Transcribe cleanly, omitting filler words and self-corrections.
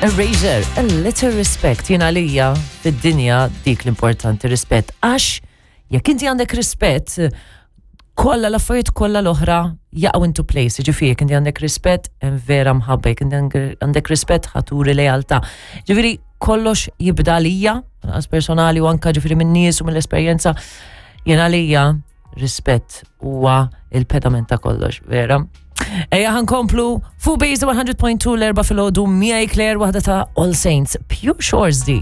Erasure, a little respect, jien għalija fid-dinja dik l-importanti rispett. Għax jekk inti għandek rispett, kollha l-affarijiet kollha l-oħra jaqgħu into place. Ġifieri jekk inti għandek rispett, hemm vera mħabba, jekk inti għandek rispett ħaturi lealtà. Ġifieri kollox jibda għalija, għas personali u anka ġifieri minn nies u mill-esperjenza, jien għalija rispett huwa il-pedament ta' kollox, vera. Ejja ħankomplu fuq Base 100.2 l-erba filgħodu miegħi Claire waħda ta' All Saints, Pure Shores di.